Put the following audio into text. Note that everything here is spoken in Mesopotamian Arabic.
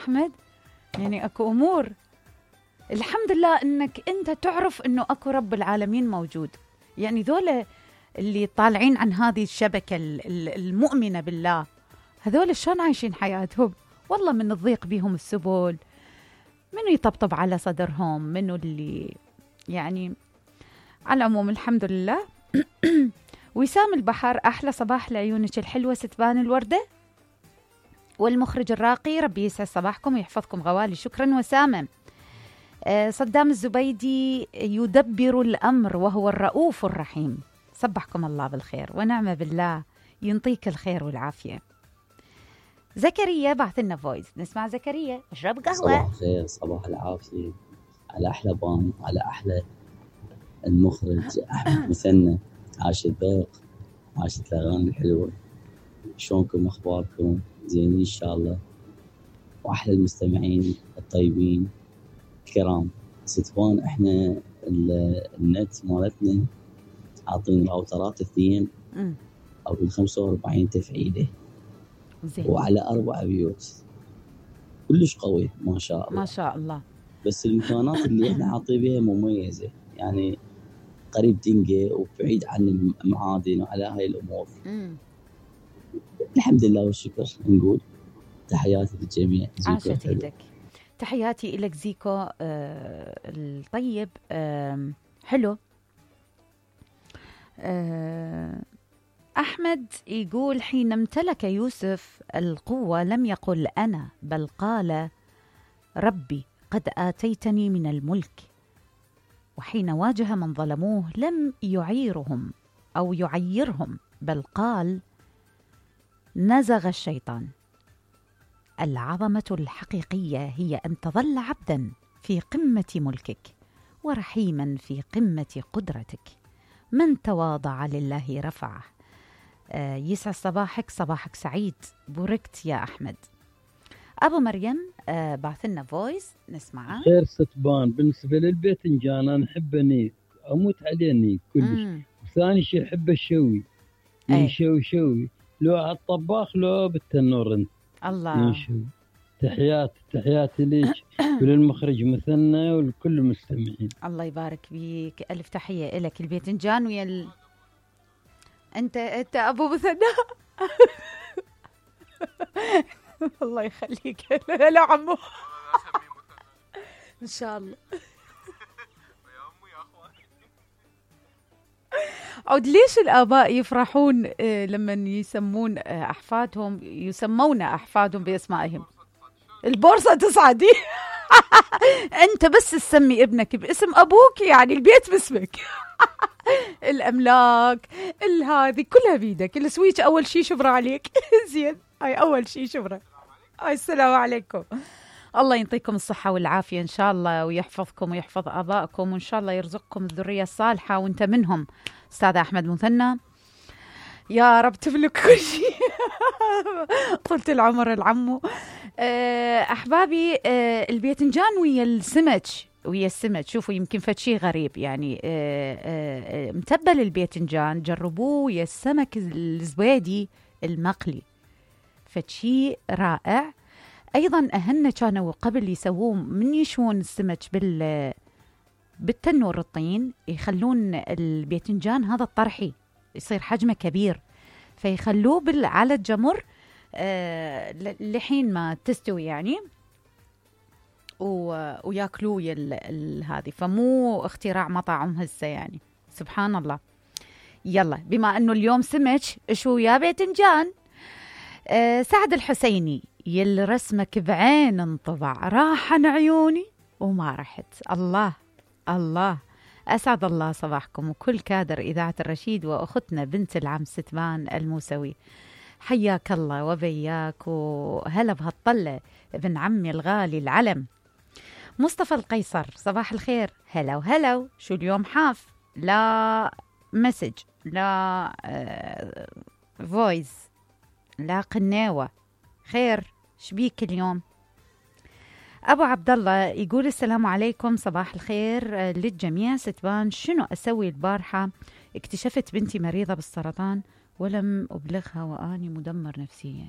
أحمد؟ يعني أكو أمور الحمد لله إنك أنت تعرف إنه أكو رب العالمين موجود. يعني ذولا اللي طالعين عن هذه الشبكة المؤمنة بالله، هذول شلون عايشين حياتهم؟ والله من الضيق بيهم السبل، منو يطبطب على صدرهم، منو اللي يعني على العموم الحمد لله. وسام البحر، أحلى صباح لعيونك الحلوة ستبان الوردة. والمخرج الراقي، ربي يسعد صباحكم ويحفظكم غوالي. شكرا وسامة. صدام الزبيدي، يدبر الأمر وهو الرؤوف الرحيم. صبحكم الله بالخير ونعم بالله، ينطيك الخير والعافية. زكريا بعث لنا فويس، نسمع زكريا. اشرب قهوة. صباح الخير، صباح العافية على أحلى بام، على أحلى المخرج أحمد مثنى. عاش الذوق، عاشت الأغاني الحلوة. شلونكم أخباركم؟ زينين إن شاء الله. وأحلى المستمعين الطيبين الكرام. ستوان إحنا النت مالتنا عاطين راوترات 2 أو 45 تفعيلة زين. وعلى 4 بيوت، كلش قوي ما شاء الله ما شاء الله. بس الإمكانات اللي إحنا عاطين بها مميزة، يعني قريب دنقة وبعيد عن المعادن وعلى هاي الأمور. الحمد لله والشكر. نقول تحياتي للجميع. عاشت ايدك. تحياتي إلك زيكو الطيب. حلو. أحمد يقول حين امتلك يوسف القوة لم يقل أنا، بل قال ربي قد آتيتني من الملك. وحين واجه من ظلموه لم يعيرهم أو يعيرهم، بل قال نزغ الشيطان. العظمة الحقيقية هي أن تظل عبدا في قمة ملكك ورحيما في قمة قدرتك. من تواضع لله رفعه. يسعد صباحك، صباحك سعيد. بوركت يا أحمد. أبو مريم بعثلنا فويس نسمعه. خير ستبان. بالنسبة للباذنجان أنا نحب نيك، أموت عليه نيك كلش. وثاني شيء أحب الشوي، شوي لو على الطباخ لو بالتنور انت. الله. تحياتي ليك وللمخرج مثنى ولكل المستمعين. الله يبارك بيك، ألف تحية لك. الباذنجان ويا انت ابو مثنى. الله يخليك. لا عمو ان شاء الله. عود ليش الآباء يفرحون لما يسمون أحفادهم، يسمون أحفادهم بأسمائهم؟ البورصة تصعدي. أنت بس تسمي ابنك باسم أبوك، يعني البيت باسمك. الأملاك هذه كلها بيدك. السويتش أول شيء شبرة عليك. زين، هاي أول شيء شبرة. هاي السلام عليكم. الله ينطيكم الصحة والعافية إن شاء الله، ويحفظكم ويحفظ آبائكم، وإن شاء الله يرزقكم الذرية الصالحة وأنت منهم. أستاذ أحمد مثنى، يا رب تملك كل شيء. طولة العمر العمو. أحبابي، الباذنجان ويا السمك شوفوا يمكن فشي غريب، يعني متبل الباذنجان جربوه ويا السمك الزبيدي المقلي، فشي رائع. أيضا أهلنا كانوا قبل يسووه من يشون السمك بالتنور الطين، يخلون الباذنجان هذا الطرحي يصير حجمه كبير، فيخلوه على الجمر لحين ما تستوي يعني، وياكلوه هذه. فمو اختراع مطاعم هسه يعني، سبحان الله. يلا بما أنه اليوم سمك شو يا باذنجان. سعد الحسيني، يل رسمك بعين انطبع، راح عن عيوني وما رحت. الله الله. أسعد الله صباحكم وكل كادر إذاعة الرشيد وأختنا بنت العم ستبان الموسوي. حياك الله وبياك، وهلا بهالطلة ابن عمي الغالي العلم. مصطفى القيصر، صباح الخير. هلا وهلا. شو اليوم حاف؟ لا مسج، لا فويس، لا قناوة. خير شبيك اليوم؟ أبو عبد الله يقول السلام عليكم، صباح الخير للجميع. ستبان، شنو أسوي البارحة؟ اكتشفت بنتي مريضة بالسرطان ولم أبلغها وأني مدمر نفسيا.